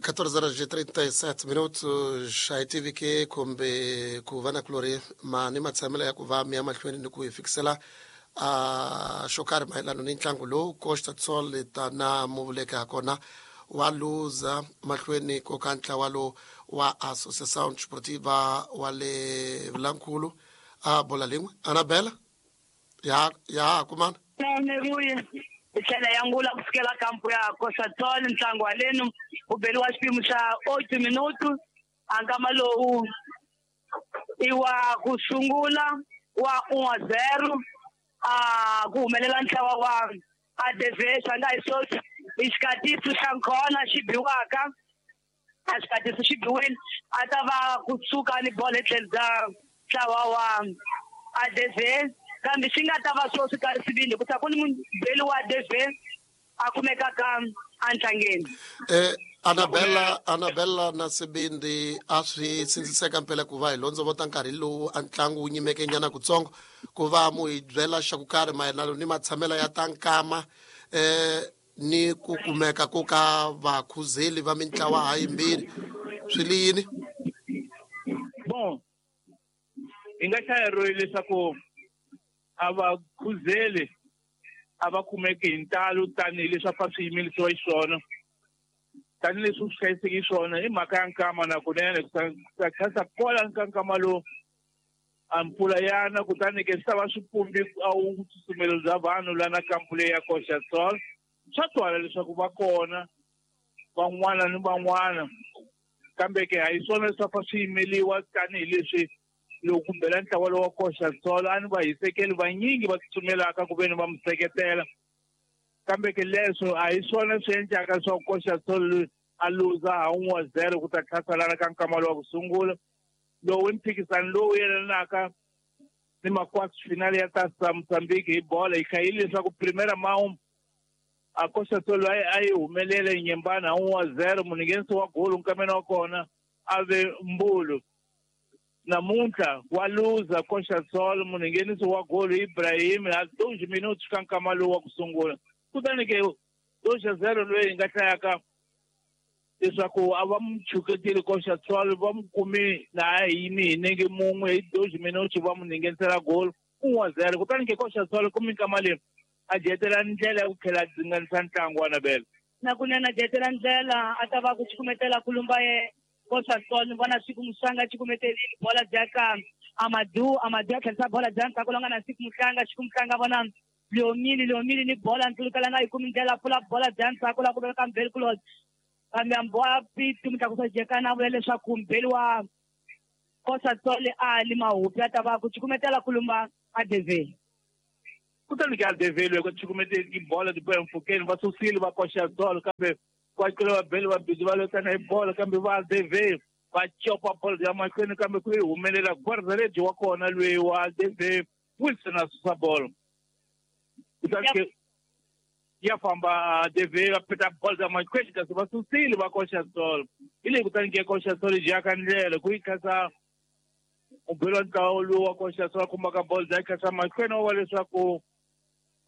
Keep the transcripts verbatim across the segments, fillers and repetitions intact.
catorze horas e trinta e sete minutos. A tive que kumbe ku va na kulori ma ni matshamelo ya ku va mi ya mahlweni ni ku hi fikisela a xo karhi mayelana ni ntlangu lowu Costa Sol ta na muvuleka kona wa luza mahlweni ko ka ntlawa lowu wa Associação Desportiva wa le Vilankulu a bola lin'we. Anabela ya ya kumana tlhela ya ngula ku fikela kampo ya Costa Sol ntlangu wa lenu u beriwa xipimo xa oito minuto a nkama lowu i wa ku sungula wa un a zero a ku humelela ntlawa wa A D V Shanghai Sochi i xikatiso xa nkhona xi biwaka a xikatiso xi biwile a ta va kusuka ni bolo etlhelo bya ntlawa wa A D V kambe xi nga ta va swo swi karhi sivile ku ta ku ni mubeli wa A D V a kumekaka entlangeni. Eh Anabella Anabella na Sibindi a swi sindziseka mpela ku va hi londzovota nkarhi lowu a ntlangu wu nyimeke nyana kutsongo ku va mu hi byela xa ku karhi mayelana ni matshamelo ya ta nkama eh ni ku kumeka ko ka vakhuzeli va mintlawa ha yimbirhi swi li yini? Bon, hi nga hlayeriwe leswaku a va khuzeli a va kumeki hi ntalo tanihileswi a fa swi yimelisiwa xiswona tanihileswi swi hlayiseki swona i mhaka ya nkama na kunene ku tlhasa kwala ka nkama lowu a mpfula yana kutani ke swi ta va swi pumbi a wu tsutsumelo bya vanhu lana kampu leyi ya Costa Sol swa twala leswaku va kona van'wana ni van'wana kambe ke a hi swona leswi a fa swi yimeliwa tanihileswi loko kumbela ntlawa lowu wa Costa Sol a ni va hisekeli vanyingi va tsutsumelaka ku ve ni va mu seketela kambe ke leswo a hi swona swi endlaka leswaku Costa Sol a luza ha un'we wa zero ku ta tlhasalana ka nkama lowu wa ku sungula lowu i mphikizano lowu yelanaka ni makwasi finale ya ta Mozambique hi bola hi hlayile leswaku primera mão a Costa Sol a yi humelele nyembana ha un'we wa zero munhu wa golo nkameni wa kona a ve Mbulu. Namuntlha wa luza Costa Sol munhu nghenisi wa golo Ibrahim ha dois minutos ka nkama lowu wa ku sungula kutani ke dois a zero loyi hi nga hlayaka leswaku a va mu chuketile Costa Sol va mu kumi laha hi yimi hi nenge mun'we hi dois minutos va mu nghenisela golo un wa zero kutani ke Costa Sol ku minkama leyi a dyetela ndlela ya ku tlhela a dzinganisa ntlangu wa Nabela na kunene a dyetela ndlela a ta va ku cukumetela kulumba ye Costa Sol ni vona siku Muhlanga cukumetelile bola bya ka Amadou Amadou a tlherisa bola bya ndzhaku longa na siku Muhlanga siku Muhlanga vona Leomili Leomili ni bola ntlulukela nga yi kumi ndlela pfula bola bya ndzhaku la ku veka Mbeli Kulot kambe amboa Pete Mutlakusa Jekana vula leswaku Mbeli wa Costa Sol a li mahupi a ta va ku cukumetela kulumba A D V kutani ke A D V loko cukumeteli bola ti boya mpfhukeni va susile va Costa Sol kambe kwacula vabeli va bidi va lwetana hi bolo kambe va A D V va copa bolo ya mahlweni kambe ku yi humelela guardaredi wa kona loyi wa A D V Wilson a susa bolo kutani ke ya famba A D V va peta bolo ya mahlweni kasi va susile va Costa Sol hi leyi kutani ke Costa Sol yi jaka ndlela ku yi khasa mubeli wa ntlawa lowu wa Costa Sol a khumbaka bolo ya khasa mahlweni wa leswaku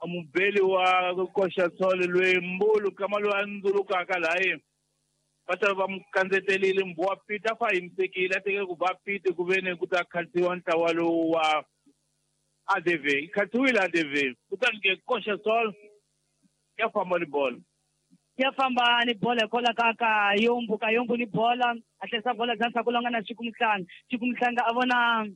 mubeli wa Costa Sol loyi Mbulu kama loyi a ndzulukaka laha va ta va mu kandzetelile Mbuwa Pete a fa yimisekile a tekele ku ba Pete ku ve ni ku ta khatsiwa ntlawa lowu wa A D V yi khatsiwile A D V kutani ke Costa Sol ya famba ni bolo ya famba ni bolo hikwalaho ka ka Yombu ka Yombu ni bola a tlherisa bola bya ndzhaku longa na Siku Muhlanga Siku Muhlanga a vona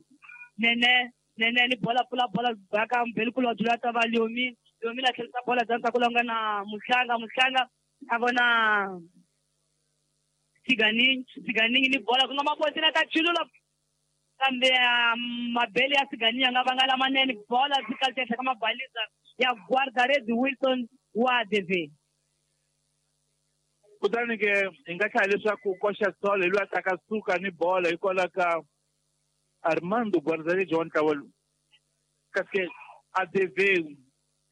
Nene Nene ni bola pfula bola bya ka Mbeli Kulot loyi a ta va Leomi Leomi la tlherisa bola bya ndzhaku longa na Muhlanga Muhlanga a vona Siganingi Siganingi ni bola ku nga mabotini a ta chulula kambe mabele ya Siganingi ya nga vanga lamanene bola byi kalita ehenhla ka mabalisa ya guardaredi Wilson wa A D V kutani ke hi nga hlaya leswaku Costa Sol hi loyi a taka suka ni bola hikwalaho ka Armando guardaredi wa ntlawa lowu kasi ke A D V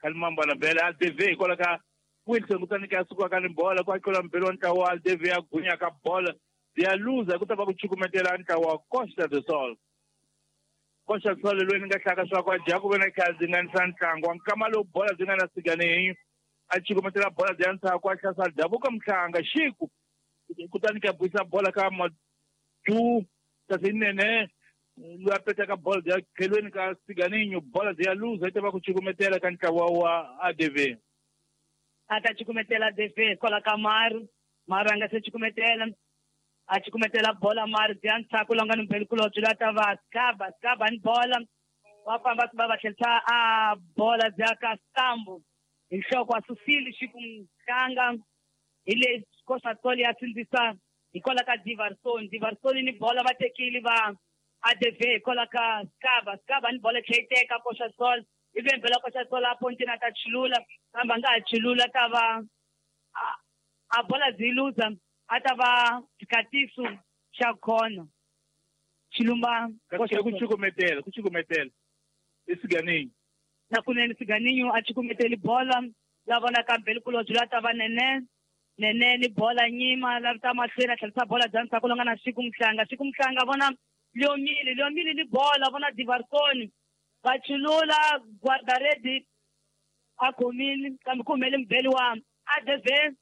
Kalimamba na Bela A D V hikwalaho ka Wilson kutani ke a sukaka ni bola ku atlula mbeli wa ntlawa wa A D V a gunyaka bola ya luza ku ta va ku cukumetela ntlawa wa Costa do Sol Costa Sol loyi ni nga hlaka swa ku a dya ku ve na kha dzinganisa ntlangu wa nkama lowu bola byi nga na Siganingi a cukumetela bola bya ndzhaku a tlhasa davuka Muhlanga Xiku Kutani ka buisa bola ka Madu kasi nene loyi a petaka bola ya tlhelweni ka Siganinho bola ya luza yi ta va ku cukumetela ka ntlawa wa A D V. A ta cukumetela A D V kwala ka Maru. Maru a nga se cukumetela. A cukumetela bola Maru bya ntshaku lowu nga ni mbelikulobye loyi a ta va Skaba. Skaba ni bola. Va famba va va tlherisa a bola bya ka Stambo. Hi nhloko a susile xikumhlanga hi le Costa ya sindzisa hikwalaho ka Diverson. Diverson ni bola va tekile va A D V hikwalaho ka Skaba. Skaba ni bola tlhe yi teka Costa Sol. Ivi mbela Costa Sol a pontini a ta chulula kambe a nga ha chulula ta va a bola byi luza a ta va xikatiso xa khona. Xilumba ku cukumetela ku cukumetela i Siganinho. Na kunene Siganinho a cukumeteli bola la vona ka mbelikulobye la ta va Nene. Nene ni bola nyima la ta mahlweni a tlherisa bola bya ntshaku lowu nga na Xikumhlanga. Xikumhlanga vona Leomile. Leomile ni bola vona Diverson. Va chulula guardaredi a khomile kambe ku humele mbeli wa A D V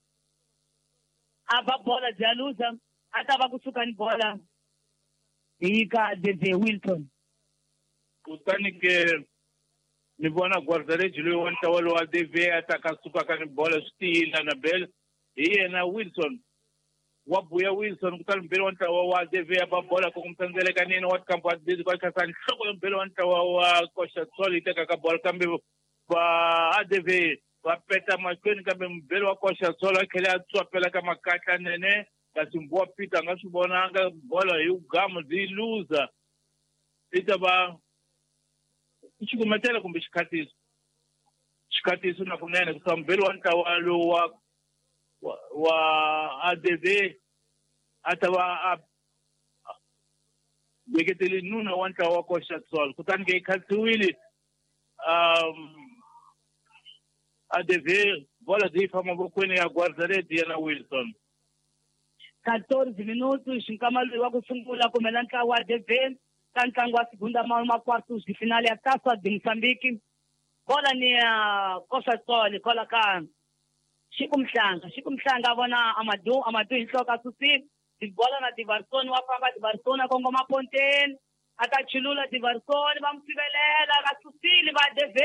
a ba bola bya luza a ta va kusuka ni bola hi ka A D V Wilson. Kutani ke ni vona guardaredi loyi wa ntlawa lowa A D V a ta ka suka ka ni bola swi tiyile na bele hi yena Wilson. Wa buya Wilson kutani mbeli wa ntlawa wa A D V a ba bola ku kumtsandzele ka nini wa kampo wa D V kwa khasa nhloko ya mbeli wa ntlawa wa Costa Sol yi teka ka bola kambe va A D V va peta mahlweni kambe mbeli wa Costa Sol a tlhela a tswapela ka makatla nene kasi Mbuwa Peter a nga swi vonanga bola hi gamu byi luza yi ta va cukumetela kumbe xikhatiso. Xikhatiso na kunene ku mbeli wa ntlawa lowu wa wa A D V a ta va a veketele nuna wa ntlawa wa Costa Sol kutani ke yi khatsiwile um A D V bola byi famba mavokweni ya guardaredi yena Wilson. quatorze minutos xinkama loyi wa ku sungula kumela ntlawa wa A D V ka ntlangu wa segunda ma quartos de finale ya Taça de Moçambique. Bola ni ya Costa Sol kola ka Xikumhlanga. Xikumhlanga vona Amadou. Amadou hi nhloko a susile bola na Diverson wa famba Diverson a kongoma ponteni a ta chulula Diverson va n'wi sivelela va susile va A D V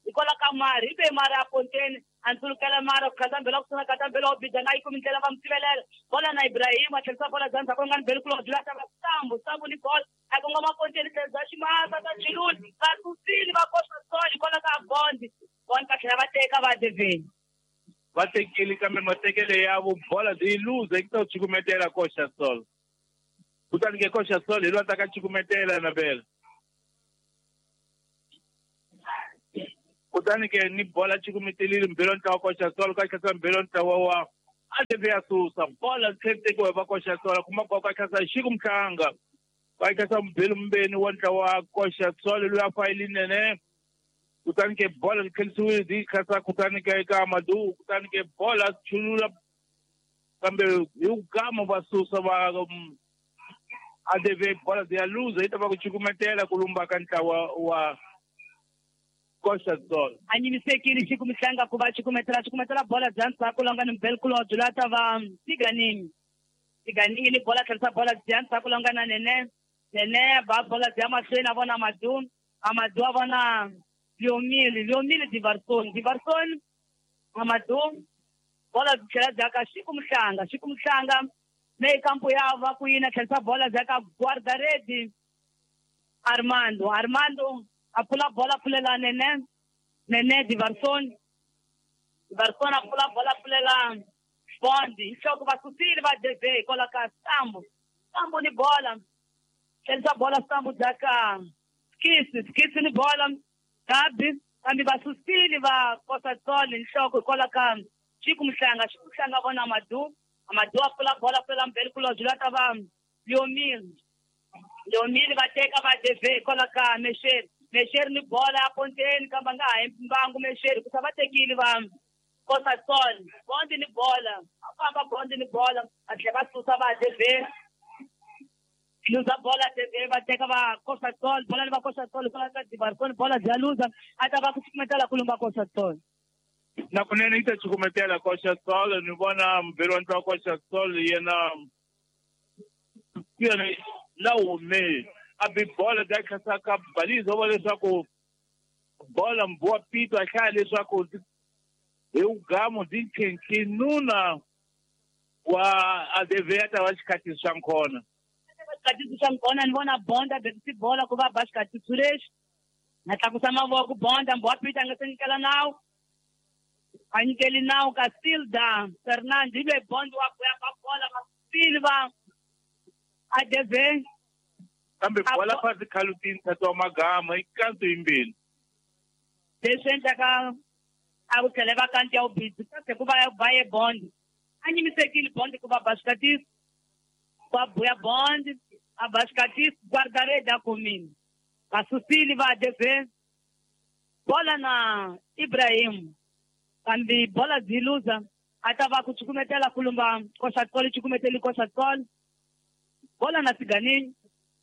hikwalaho ka Mari. Hi ve Mari a ponteni a ndzulukela Mari ku khatambela ku suna khatambela wa bida na yi kumi ndlela va n'wi sivelela bola na Ibrahim a tlherisa bola bya ndzhaku nga ni mbelikulobye la ta va Sambu. Sambu ni bola a kongoma ponteni tlherisa ximasa ta chulula va susile va Costa Sol hikwalaho ka Bondi. Bondi va tlhela va teka va A D V. Va tekile kambe matekele ya vo bola byi luza yi ta cukumetela Costa Sol. Kutani ke Costa Sol hi loyi a ta ka cukumetela na bela. Kutani ke ni bola cukumetelile mbelo ntlawa Costa Sol ka tlhasa mbelo ntlawa wa A D V ya susa bola tlhela tekiwa va Costa Sol kuma kwa ka tlhasa Xikumhlanga va tlhasa mbelo mbeni wa ntlawa Costa Sol loyi a fayile nene. Kutani ke bola tlhelisiwile byi khasa kutani ke eka Amadou kutani ke bola chulula kambe hi ku gama va susa va A D V bola ya luza yi ta va ku cukumetela ku lumba ka ntlawa wa Costa Sol. A nyimisekile Xikumhlanga ku va cukumetela cukumetela bola bya ndzhaku lowu nga ni mbelikulobye loyi a ta va Siganinho. Siganinho ni bola tlherisa bola bya ndzhaku lowu nga na Nene. Nene ba bola bya mahlweni a vona Amadou. Amadou a vona Leomile. Leomile Diverson. Diverson Amadou bola tlhela bya ka Xikumhlanga. Xikumhlanga leyi kampo ya va ku yina tlherisa bola bya ka guardaredi Armando. Armando a pfula bola pfulela Nene. Nene Diverson. Diverson a pfula bola pfulela Bondi. Hi nhloko va susile va D V hikwalaho ka Sambu. Sambu ni bola tlherisa bola Sambu bya ka Skisi. Skisi ni bola Gabi kambe va susile va Costa Sol hi nhloko hikwalaho ka Xikumhlanga. Xikumhlanga vona Amadou. Amadou a pfula bola pfulela mbelikulobye la ta va Leomile. Leomile va teka va D V hikwalaho ka Mexeri. Mexeri ni bola ya ponteni kambe a nga ha yi mbangu Mexeri ku sa va tekile va Costa Sol. Bondi ni bola a famba Bondi ni bola a tlhela va susa va D V. Luza bola D V va teka va Costa Sol bola ni va Costa Sol hikwalaho ka Diverson bola bya luza a ta va ku cukumetela ku lumba Costa Sol. Na kunene yi ta cukumetela Coxa Sol ni vona muberi wa ntlawa Coxa Sol yena yena la hume a bi bola da khasaka balizo va leswaku bola mbuwa pito a hlaya leswaku hi ugamu di nkhenkhe nuna wa A D V ta va xikhathi xa nkhona xikhathi xa nkhona ni vona bonda bekisi bola ku va ba xikhathi lexi na tlakusa mavoko bonda mbuwa pito a nga se nyikela nawu a nyikeli nawu ka Silda Fernando hi loyi bondo wa ku ya ba bola va Silva A D V kambe bola phansi khalutini tata wa magama i kanto yimbili leswi endlaka a ku tlhele va kanti ya ubhizi kasi ku va ba ye bond a nyimisekile bond ku va ba xikatisi va buya bond a ba xikatisi guardarede a kumile va susile va A D V bola na Ibrahim kambe bola byi luza a ta va ku cukumetela kulumba Coxa Sol cukumeteli Coxa Sol bola na Siganini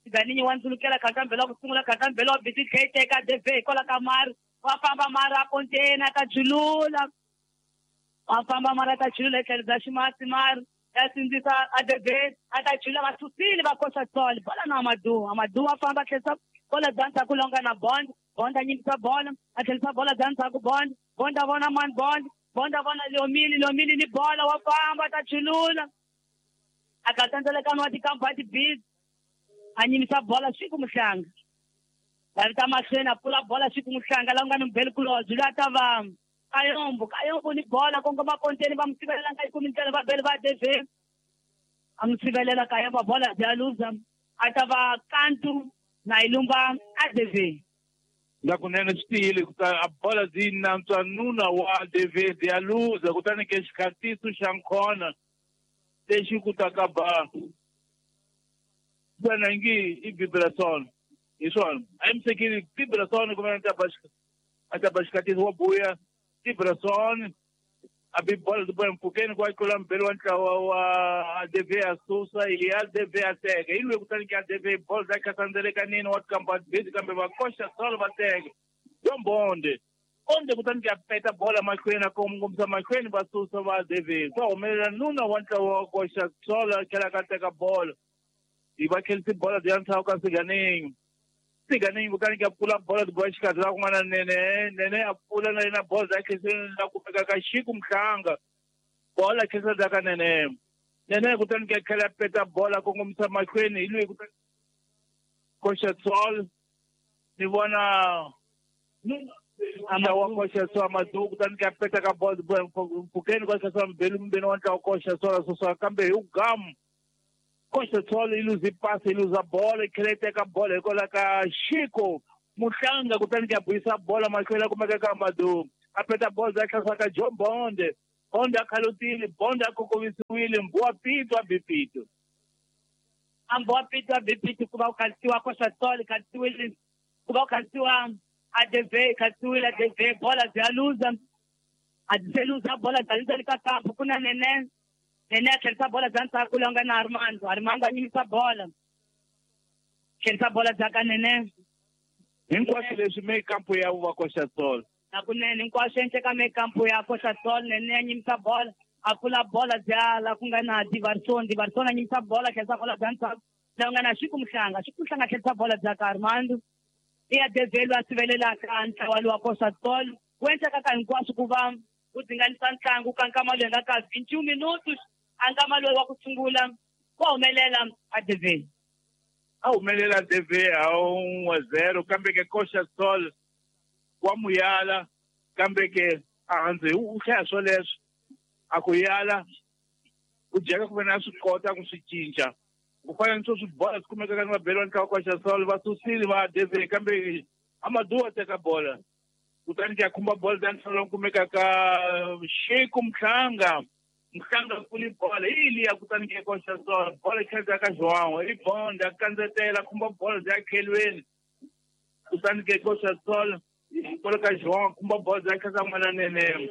Siganini wa ndzulukela khatambela ku sungula khatambela wa biti tlhe teka A D V hikwalaho ka mari wa famba mara a kontena ta julula wa famba mara ta julula etlhelo bya ximasi mari ya sindzisa A D V a ta julula va susile va Coxa Sol bola na Amadu Amadu wa famba tlherisa bola bya ndzhaku longa na bond bond a nyimbisa bola a tlherisa bola bya ndzhaku bond bond a vona mani bond bond a vona Leomili Leomili ni bola wa famba ta julula a ka tandzelekano wa tikampa wa tibizi a nyimbisa bola siku muhlanga va vita mahlweni a pfula bola siku muhlanga la nga ni mubeli kulobye loyi a ta va Kayombo Kayombo ni bola kongoma konteni va mu sivelela nga yi kumi ndlela va beli va A D V a mu sivelela Kayombo bola bya luza a ta va kantu na yi lumba A D V na kunene swi tiyile kuta a bola byi nantswa nuna wa A D V byi ya luza kutani ke xikhatiso xa nkhona lexi ku ta ka ba wena ngi i Vibrason hi swona a yi Vibrason kumbe a ta ba a ta ba xikhatiso wa buya Vibrason a bi bola ti bola mpfhukeni ku a tlula mubeli wa ntlawa wa A D V a susa hi A D V a teka hi loyi kutani ke A D V bola ta khasandzelekanini wa tikamba busy kambe va Coxa Sol va teka yo mbonde onde kutani ke a peta bola mahlweni a kongomisa mahlweni va susa va A D V swa humelela nuna wa ntlawa wa Coxa Sol a tlhela ka teka bola hi va khelisi bola bya ntlhawu ka Siganini Siganini kutani ke a pfula bola ti bola xikarhi la kun'wana nene nene a pfula na yena bola bya khelisi la kumeka ka Xiku Mhlanga bola khelisa bya ka nene nene kutani ke tlhela a peta bola kongomisa mahlweni hi loyi kutani Coxa Sol ni vona ntlawa wa Coxa Sol Amadu kutani ke a peta ka bola mpfhukeni kwa khelisa mbeli mbeni wa ntlawa Coxa Sol a susa kambe hi ugamu Coxa Sol yi luze pasi yi luza bola yi tlhela yi teka bola hikwalaho ka Xiko Muhlanga kutani ke a buyisa bola mahlweni a kumeka ka Amadu a peta bola bya tlhasa ka John Bonde Bonde a khalutile Bonde a kokovisiwile mbuwa pito a bi pito a mbuwa pito a bi pito ku va ku khalisiwa Coxa Sol khalisiwile ku va ku khalisiwa A D V khalisiwile A D V bola bya luza a byi se luza bola bya luza le ka kampu ku na nene nene a tlherisa bola bya ndzhaku loyi nga na Armando Armando a nyimisa bola tlherisa bola bya ka nene hinkwaswo leswi me kampu ya va Coxa Sol na kunene hinkwaswo endleka me kampu ya Coxa Sol nene a nyimisa bola a pfula bola bya la ku nga na Divarson Divarson a nyimisa bola tlherisa bola bya ndzhaku loyi nga na Xiku Mhlanga Xiku Mhlanga tlherisa bola bya ka Armando i ya D V loyi a sivelelaka ntlawa lowa Coxa Sol wu endleka ka hinkwaswo ku va wu dzinganisa ntlangu ka nkama loyi nga ka vinci minutos a nkama loyi wa ku sungula wa humelela A D V a humelela A D V a un'we zero kambe ke Coxa Sol wa muyala kambe ke a handze u hlaya swoleswo a ku yala u dyeka ku ve na swi kota ku swi cinca ku fana ni swo swi bola swi kumekaka ni vabeli va ntlawa Coxa Sol va susile va A D V kambe Amadu wa teka bola kutani ke a khumba bola ta ntlhanu lowu kumekaka Xiku Mhlanga Mhlanga pfuli bola hi liya kutani ke Coxa Sol bola yi tlhela ka João i Bond a kandzetela khumba bola bya khelweni kutani ke Coxa Sol kwalo ka João khumba bola bya tlhela n'wana nene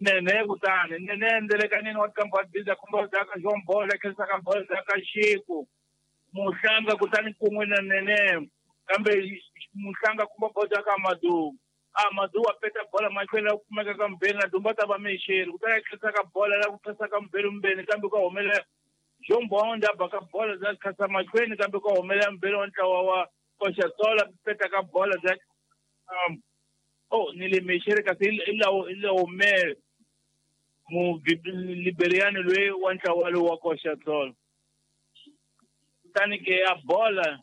nene kutani nene endzelekanini wa tikampa wa biza khumba bya ka João bola tlherisa ka bola bya ka Xiku Muhlanga kutani kun'we na nene kambe Muhlanga khumba bola bya ka Amadu Amadou a peta bola mahlweni la ku kumeka ka Mbeni na Dumba ta va mexeri kutani a tlherisa ka bola la ku phasa ka Mbeni Mbeni kambe ka humelela John Bond a baka bola bya khasa mahlweni kambe ka humelela Mbeni wa ntlawa wa Koxatola peta ka bola bya um oh ni le mexeri kasi i lawo i lawo me mu Liberian loyi wa ntlawa lowu wa Koxatola kutani ke a bola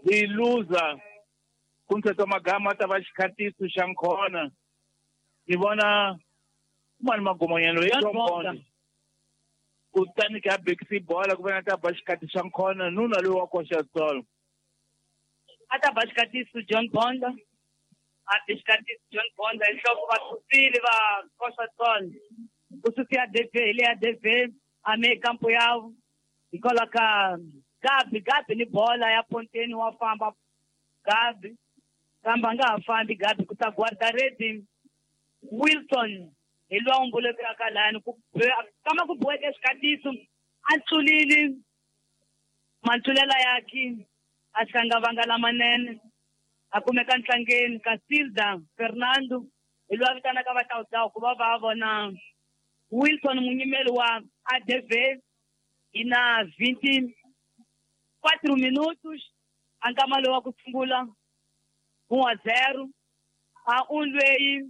yi luza kumthetho magama ta va xikhatiso xa nkhona ni vona mani magomanyana loyi John Bond kutani ke a bekisi bola ku vona ta ba xikhati xa nkhona nuna loyi wa Koxatola a ta ba xikhatiso John Bond a bi xikhatiso John Bond hi nhloko va susile va Koxatola ku susiya D V hi leya D V a me kampo ya hikwalaho ka Gabi Gabi ni bola ya ponteni wa famba Gabi kambe a nga ha fambi Gabi ku ta guardaredi Wilson hi loyi a mbulekaka lani ku kama ku boheke xikhatiso a tlulile mantlulela yakhe a hlangavanga lamanene a kumeka ntlangeni ka Silda Fernando hi loyi a vitanaka vatawutawu ku va va vona Wilson munyimeli wa A D V hi na vinte quatro minutos a nkama lowu wa ku sungula um a zero a un loyi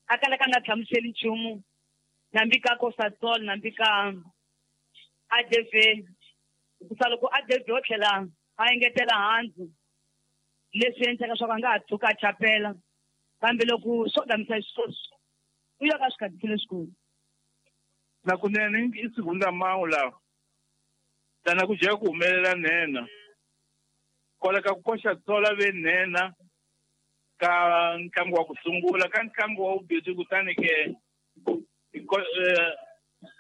a kalaka a nga hlamuseli nchumu nambi ka Koxatol nambi ka A D V hikusa loko A D V o tlhela a engetela handzu leswi endlaka swa ku a nga ha tshuka a chapela kambe loko swo gamisa xisweswo u ya ka swikhatiso leswikulu na kunene i segunda mão lawa tana ku jeka ku humelela nhenha kwala ka ku Koxatola ve nhenha ka ntlangu wa ku sungula ka ntlangu wa vumbirhi kutani ke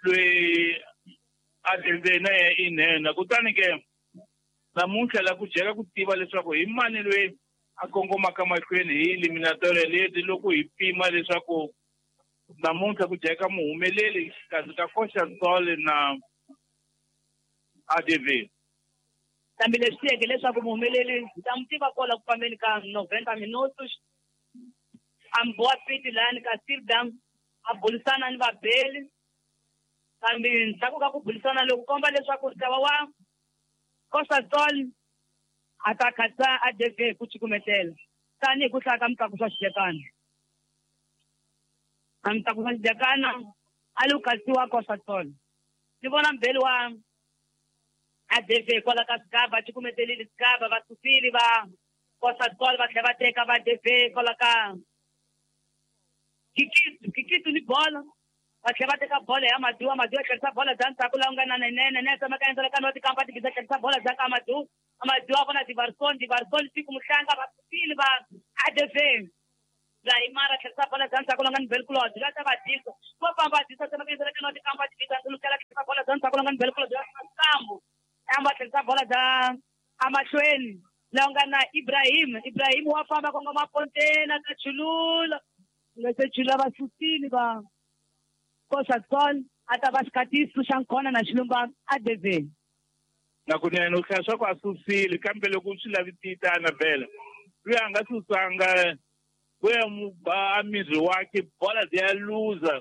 loyi a D V na yena i nhenha kutani ke namuntlha la ku jeka ku tiva leswaku hi mani loyi a kongomaka mahlweni hi eliminatoria leti loko hi pima leswaku namuntlha ku jeka muhumeleli kasi ka Koxatol na A D V kambe leswi tiyeke leswaku muhumeleli hi ta n'wi tiva kwala ku fambeni ka noventa minutos a mbowa fiti lani ka Silda a bulisana ni vabeli kambe ndzhaku ka ku bulisana loku komba leswaku ntlawa wa Koxatol a ta khatsa A D V hi ku cukumetela tanihi ku hlaya ka Mutlakusi wa Xidekana a Mutlakusi wa Xidekana a li ku khatsiwa Koxatol ni vona mbeli wa A D V kwala ka Sigaba cukumetelile Sigaba va susile va Koxatol va tlhela va teka va A D V kwala ka Kikitu Kikitu ni bola va tlhela va teka bola ya Madu Amadu a tlherisa bola bya ndzhaku laha ku nga na Nenene Nene tsemaka endzela ka noti kampa tibiza tlherisa bola bya ka Amadu Amadu a vona Divarson Divarson siku muhlanga va susile va A D V Zaimara tlherisa bola bya ndzhaku laha nga ni Belkulod la ta va disa va famba va disa tsemaka endzela ka noti kampa tibiza tlherisa bola bya ndzhaku laha nga ni Belkulod Sambu amba tlherisa bola bya amahlweni laha nga na Ibrahim Ibrahim wa famba kongoma pontena ka chulula nga se chula va susile va Koxatol a ta va xikhatiso xa nkhona na xilumba A D V na kunene u hlaya swa ku a susile kambe loko swi lavisita Annabella loyi a nga susanga ku ya mu ba a miri wakhe bola ya luza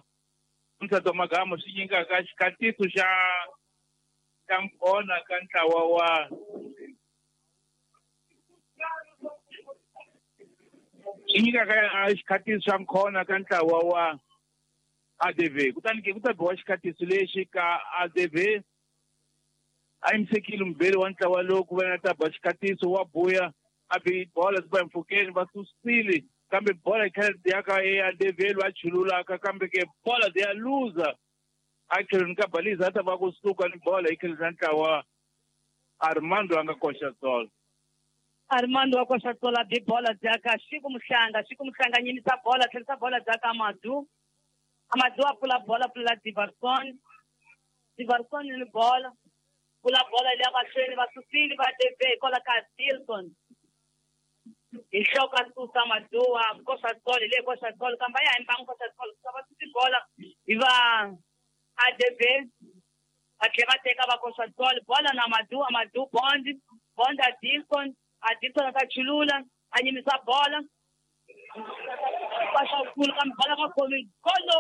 mthatho magama swi nyikaka xikhatiso xa xa nkhona ka ntlawa wa swi nyikaka xikhatiso xa nkhona ka ntlawa wa A D V kutani ke ku ta biwa xikhatiso lexi ka A D V a yimisekile mubeli wa ntlawa lowu ku va na ta ba xikhatiso wa buya a bi bola swi ba mpfhukeni va susile kambe bola yi tlhela ya ka e A D V loyi a chululaka kambe ke bola ya luza a tlhelweni ka Baliza a ta va kusuka ni bola yi tlhelisa ntlawa Armando a nga Koxatol Armando wa Koxatol a bi bola bya ka Xiku Muhlanga Xiku Muhlanga nyimisa bola tlherisa bola bya ka Amadu Amadu a pfula bola pfula Divarson Divarson ni bola pfula bola leya mahlweni va susile va D V hikwalaho ka Dilson hi nhloko a susa Amadu wa Koxatol hi le Koxatol kambe a ya hi mbangu Koxatol va susi bola hi va A D V va tlhela va teka va Koxatol bola na Amadu Amadu Bond Bond a Dilson a Dilson a ta chulula a nyimisa bola Paxa kulu kambe bala va khomi golo.